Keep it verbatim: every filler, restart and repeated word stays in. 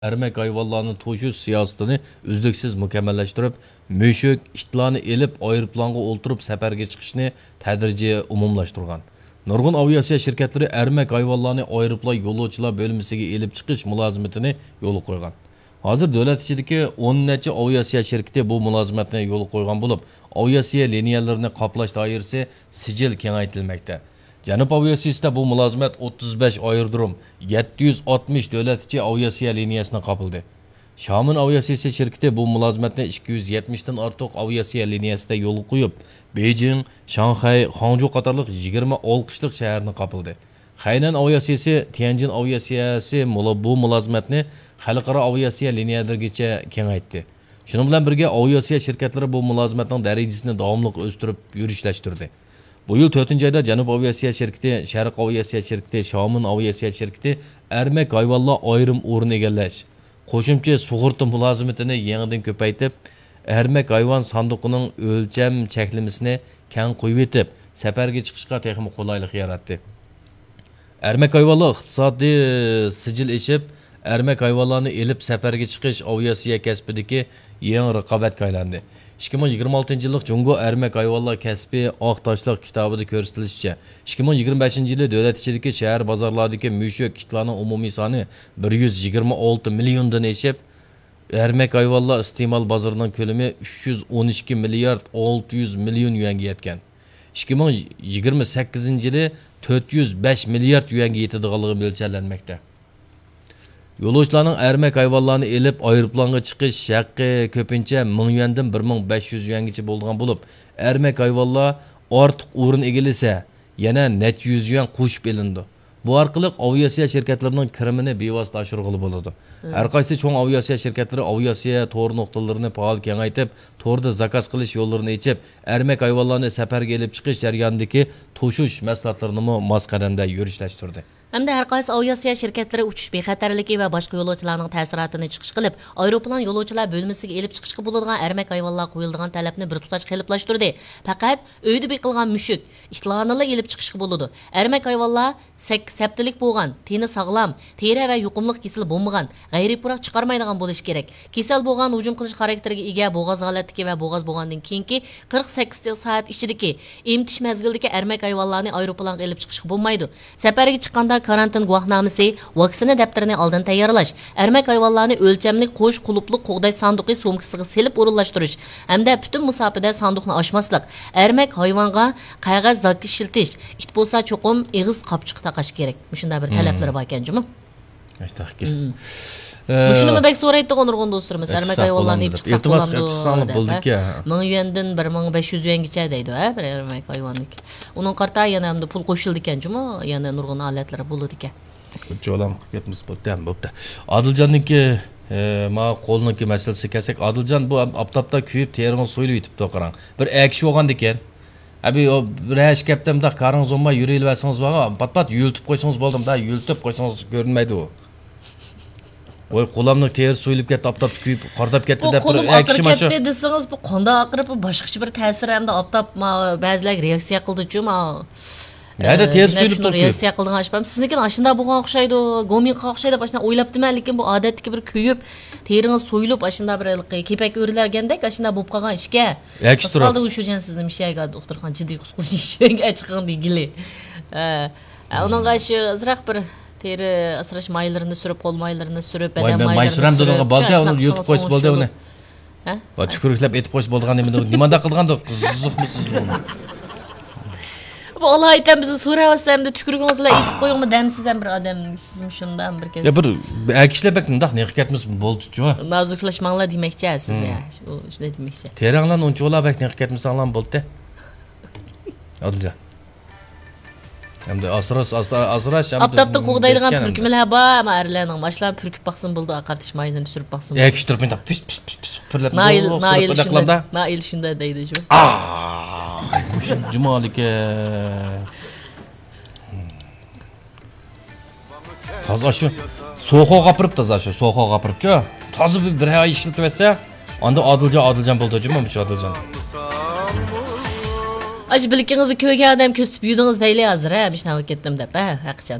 ئەرمەك ھايۋانلارنى توشۇش سىياسىتىنى ئۈزلۈكسىز مۇكەممەللەشتۈرۈپ، مۈشۈك، ئىتلارنى ئېلىپ، ئايروپىلانغا ئولتۇرۇپ سەپەرگە چىقىشنى تەدرىجىي ئومۇملاشتۇرغان. نۇرغۇن ئاۋىئاتسىيە شىركەتلىرى ئەرمەك ھايۋانلارنى ئايروپىلان يولۇچىلار بۆلمىسىگە ئېلىپ چىقىش مۇلازىمىتىنى يولغا قويغان. ھازىر دۆلەت ئىچىدىكى ئون نەچچە ئاۋىئاتسىيە شىركىتى بۇ مۇلازىمەتنى يولغا قويغان بولۇپ، ئاۋىئاتسىيە لىنىيەلىرىنى قاپلاش دائىرىسى سىجىل كېڭەيتىلمەكتە. جەنۇب ئاۋىئاتسىيىسىدە بۇ مۇلازىمەت ئوتتۇز بەش ئايرودروم، يەتتە يۈز ئاتمىش دۆلەت ئىچى ئاۋىئاتسىيە لىنىيەسىنى قاپلىدى. شامېن ئاۋىئاتسىيىسى شىركىتى بۇ مۇلازىمەتنى ئىككى يۈز يەتمىشتىن ئارتۇق ئاۋىئاتسىيە لىنىيەسىدە يولغا قويۇپ، بېيجىڭ، شاڭخەي، خاڭجۇ قاتارلىق يىگىرمە ئالقىشلىق شەھەرنى قاپلىدى. خەينەن ئاۋىئاتسىيىسى، تيەنجىن ئاۋىئاتسىيەسى مۇلا-، بۇ مۇلازىمەتنى خەلقئارا ئاۋىئاتسىيە لىنىيەلىرىگىچە كېڭەيتتى. شۇنىڭ بىلەن بىرگە، ئاۋىئاتسىيە شىركەتلىرى بۇ مۇلازىمەتنىڭ دەرىجىسىنى داۋاملىق ئۆستۈرۈپ يۈرۈشلەشتۈردى. بۇ يىل تۆتىنچى ئايدا جەنۇب ئاۋىئاتسىيە شىركىتى، شەرق ئاۋىئاتسىيە شىركىتى، شامېن ئاۋىئاتسىيە شىركىتى ئەرمەك ھايۋانلار ئايرىم ئورۇن ئىگىلەش، قوشۇمچە سۇغۇرتا مۇلازىمىتىنى يېڭىدىن كۆپەيتىپ، ئەرمەك ھايۋان ساندۇقىنىڭ ئۆلچەم چەكلىمىسىنى كەڭ قويۇۋېتىپ، سەپەرگە چىقىشقا تېخىمۇ قولايلىق ياراتتى. ئەرمەك ھايۋانلار ئىقتىسادىي سىجىل ئېشىپ، ئەرمەك ھايۋانلارنى ئېلىپ سەپەرگە چىقىش ئاۋىئاتسىيە كەسپىدىكى يېڭى رىقابەتكە ئايلاندى. ئىككى مىڭ يىگىرمە ئالتىنچى يىللىق جۇڭگو ئەرمەك ھايۋانلار كەسپى ئاق تاشلىق كىتابىدا كۆرسىتىلىشىچە، ئىككى مىڭ يىگىرمە بەشىنچى يىلى دۆلەت ئىچىدىكى شەھەر بازارلاردىكى مۈشۈك، ئىتلارنىڭ ئومۇمىي سانى بىر يۈز يىگىرمە ئالتە مىليوندىن ئېشىپ، ئەرمەك ھايۋانلار ئىستېمال بازىرىنىڭ كۆلىمى ئۈچ يۈز ئون ئىككى مىليارد ئالتە يۈز مىليون يۈەنگە يەتكەن. ئىككى مىڭ يىگىرمە سەككىزىنچى يىلى تۆت يۈز بەش مىليارد يۈەنگە يېتىدىغانلىقى مۆلچەرلەنمەكتە. يولۇچىلارنىڭ ئەرمەك ھايۋانلارنى ئېلىپ ئايروپىلانغا چىقىش ھەققى كۆپىنچە مىڭ يۈەندىن بىر مىڭ بەش يۈز يۈەنگىچە بولىدىغان بولۇپ، ئەرمەك ھايۋانلار ئارتۇق ئورۇن ئىگىلىسە، يەنە نەچچە يۈز يۈەن قوشۇپ ئېلىنىدۇ. بۇ ئارقىلىق ئاۋىئاتسىيە شىركەتلىرىنىڭ كىرىمىنى بىۋاسىتە ئاشۇرغىلى بولىدۇ. ھەرقايسى چوڭ ئاۋىئاتسىيە شىركەتلىرى ئاۋىئاتسىيە تور نۇقتىلىرىنى پائال كېڭەيتىپ، توردا زاكاز قىلىش يوللىرىنى ئېچىپ، ئەرمەك ھايۋانلارنى سەپەرگە ئېلىپ چىقىش جەريانىدىكى توشۇش مەھسۇلاتلىرىنىمۇ ماس قەدەمدە يۈرۈشلەشتۈردى. ھەمدە ھەرقايسى ئاۋىئاتسىيە شىركەتلىرى ئۇچۇش بىخەتەرلىكى ۋە باشقا يولۇچىلارنىڭ تەسىراتىنى چىقىش قىلىپ، ئايروپىلان يولۇچىلار بۆلمىسىگە ئېلىپ چىقىشقا بولىدىغان ئەرمەك ھايۋانلارغا قويۇلىدىغان تەلەپنى بىر تۇتاش قېلىپلاشتۇردى. پەقەت ئۆيدە بېقىلغان مۈشۈك، ئىتلارنىلا ئېلىپ چىقىشقا بولىدۇ. ئەرمەك ھايۋانلار سەككىز ھەپتىلىك بولغان، تېنى ساغلام، تېرە ۋە يۇقۇملۇق كېسىلى بولمىغان، غەيرىي پۇراق چىقارمايدىغان بولۇشى كېرەك. كېسەل بولغان، ھۇجۇم قىلىش خاراكتېرىگە ئىگە، بوغاز ھالەتتىكى ۋە بوغاز بولغاندىن كېيىنكى قىرىق سەككىز سائەت ئىچىدىكى ئېمىتىش مەزگىلىدىكى ئەرمەك ھايۋانلارنى ئايروپىلانغا ئېلىپ چىقىشقا بولمايدۇ. سەپەرگە چىققاندا كارانتىن گۇۋاھنامىسى، ۋاكسىنا دەپتىرىنى ئالدىن تەييارلاش، ئەرمەك ھايۋانلارنى ئۆلچەملىك قوش قۇلۇپلۇق قوغداش ساندۇقى سومكىسىغا سېلىپ ئورۇنلاشتۇرۇش ھەمدە پۈتۈن مۇساپىدە ساندۇقنى ئاچماسلىق، ئەرمەك ھايۋانغا قەغەز زاكا ئىشلىتىش، ئىت بولسا چوقۇم ئېغىز قاپچۇقى تاقاش كېرەك. مۇشۇنداق بىر تەلەپلىرى باركەن جۇمۇ. ئاشتاقكى. مم. ئە، مۇشۇنىمۇ بەك سورايتتىغۇ نۇرغۇن دوستلىرىمىز، ئەرمەك ھايۋانلارنى ئېلىپ چىقساق بولامدۇ دەپ، ھە؟ بولىدىكەن. مىڭ يۈەندىن بىر مىڭ بەش يۈز يۈەنگىچە دەيدۇ، ھە، بىر ئەرمەك ھايۋاننىڭكى. ئۇنىڭغا قارىتا يەنە ئەمدى پۇل قوشۇلىدىكەن جۇمۇ، يەنە نۇرغۇن ھالەتلىرى بولىدىكەن. چولام قىلىپ كەتمىسە بوپتۇ، ھەم بوپتۇ. ئادىلجاننىڭكى، ئە، ما قولىنىڭكى مەسىلىسىگە كەلسەك، ئادىلجان بۇ ئاپتاپتا كۆيۈپ تېرىڭىز سويۇلۇپ يېتىپتۇ، قاراڭ. بىر ئەكىشى بولغاندىكەن. ئەبى، ئۇ بىر ئىككى ھەپتە مۇنداق كارىڭىز بولماي يۈرۈۋەرسىڭىز بولغان، پات-پات يۆلىتىپ قويسىڭىز بولدى، مۇنداق يۆلىتىپ قويسىڭىز كۆرۈنمەيدۇ ئۇ. قوي، قولامنىڭ تېرىسى سويۇلۇپ كەتتى، ئاپتاپتا كۆيۈپ، قارىداپ كەتتى بۇ دەپ قولۇم بىر ئەكىشى ئاقىرىپ مانا شۇ. كەتتى دېسىڭىز، بۇ قانداق ئاقىرىپ، بۇ باشقىچە بىر تەسىر ھەمدە ئاپتاپ ما-، بەزىلەرگە رېئاكسىيە قىلدىچۇ، ما-، نەدە ئە، تېرىسى نەپسىنىڭ سويۇلۇپتۇ كۆيۈپ. رېئاكسىيە قىلىدىغان ئىش بارمۇ؟ سىزنىڭكى ئاشۇنداق بولغان ئوخشايدۇ، گومىڭغا ئوخشايدۇ، ئاشۇنداق ئويلاپتىمەن، لېكىن بۇ ئادەتتىكى بىر كۆيۈپ، تېرىڭىز سويۇلۇپ، ئاشۇنداق بىر ھېلىقى كېپەك ئۆرىلەنگەندەك ئاشۇنداق بولۇپ قالغان ئىشكەن. ئەكىشى تۇرۇپ. ئۇشۇ جان سىزنى مىشەگە دوختۇرخانا جىددىي قۇتقۇزۇش ئىشىگە ئەچىقىڭ دېگىلى. ئە، ئە، ئۇنىڭغا شۇ ئازراق بىر تېرە ئاسراش مايلىرىنى سۈرۈپ، قول مايلىرىنى سۈرۈپ، بەدەن مايلىرىنى سۈرۈپ، بالدى، ئۇنى يۇتۇپ قويسا بولدى ئۇنى. ھە؟ ۋە تۈكۈرۈكلەپ ئېتىپ قويسا بولىدىغان نېمىدۇ؟ نېمانداق قىلىدىغاندۇ؟ قىزىقمۇ سىز بۇ؟ بۇ ئالايىتەن بىزنى سوراۋاتسا ئەمدى تۈكۈرۈكىڭىز بىلەن ئېتىپ قويۇڭمۇ دەمسىز ھەم بىر ئادەم، سىزمۇ شۇنداق بىر يا بىر ئەكىشلەر بەك مۇنداق نېقىپ كەتمىسە بولدىچۇ. نازۇكلاشماڭلار دېمەكچى سىزنى. ھە، شۇ، شۇنداق دېمەكچى. تېرەڭلارنى ئۇنچىۋالا بەك نېقىپ كەتمىسەڭلارمۇ بولدى. ئادىلجان. ئەمدى ئاسراش، ئاستا-، ئاسراش، ئەمدى ئاپتاپتا قوغدايدىغان پۈركۈمىلەر بار، ئەمما ئەرلەرنىڭ ماشۇلارنى پۈركۈپ باقسىمۇ بولىدۇ، قارتىش مايلىرىنى سۈرۈپ باقسىمۇ بولىدۇ. ئەكىشتۈرۈپ مۇنداق پىس، پىس، پىس، پىس پۈرلەپ نائىل، نائىل شۇنداق، نائىل شۇنداق دەيدۇ شۇ. ئاھ، مۇشۇ جۇمالىكەن. تازا شۇ سوخوغا ئاپىرىپ، تازا شۇ سوخوغا ئاپىرىپچۇ. تازا بىر، بىر ئاي ئىشلىتىۋەتسە، ئاندىن ئادىلجان، ئادىلجان بولىدۇ جۇمۇ، مۇشۇ ئادىلجان. ئاشۇ بىلىكىڭىزنى كۆرگەن ئادەم كۆرسىتىپ يۈدىڭىز دەيلى ھازىر، ھە، مۇشۇنداق بولۇپ كەتتىم دەپ، ھە، ھەقىچان.